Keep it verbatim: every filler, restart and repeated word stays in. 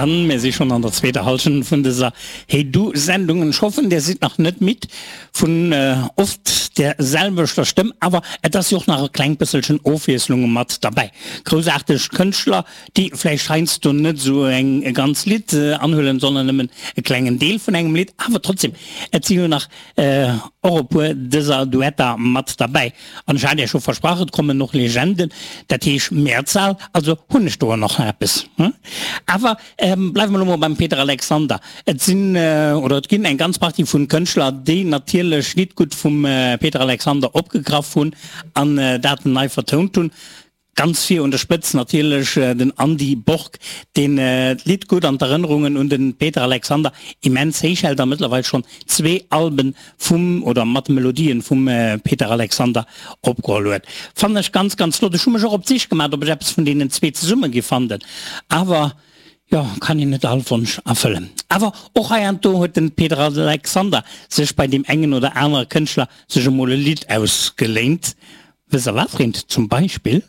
An mir si schonn an der zweeter Hallschent vun dëser Hey Du Sendung. Ech hoffen, Dir sidd nach net midd vun oft där selwechter Stëmm, awer et ass jo och nach e klengt bësselchen Ofwiesslung mat derbäi. Groussaarteg Kënschtler, déi vläicht heiansdo net esou eng e ganz Lidd anhuelen, sondern nëmmen e klengen Deel vun engem Lidd, awer trotzdem, et si jo nach och e puer dëser Duetter mat derbäi. An ech hat Iech scho versprach, et kommen och Legenden, dat heesch Mehrzahl, also hunn ech do och nach eppes. Awer bleiwe mer elo mol beim Peter Alexander. Et sinn, oder et ginn eng ganz Partie vun Kënschtler, déi natierlech Liedgut vum Peter Alexander opgegraff hunn an dat nei vertount hunn. Ganz vir un der Spëtz natierlech den Andy Borg, deen d'Liedgut an d'Erënnerungen un de Peter Alexander immens héich hält a mëttlerweil schonn zwee Alben vum oder mat Melodien vum Peter Alexander opgeholl huet. Fannen ech ganz ganz flott. Ech hu mech och op d'Sich gemaat ob ech eppes vun deenen zwee zesumme giff fanden, awer jo, kann een net all Wonsch erfëllen. Awer och heiansdo huet den Peter Alexander sech bei deem engen oder anere Kënschtler sech emol e Lidd ausgeléint. Wësst der wat fir eent zum Beispill?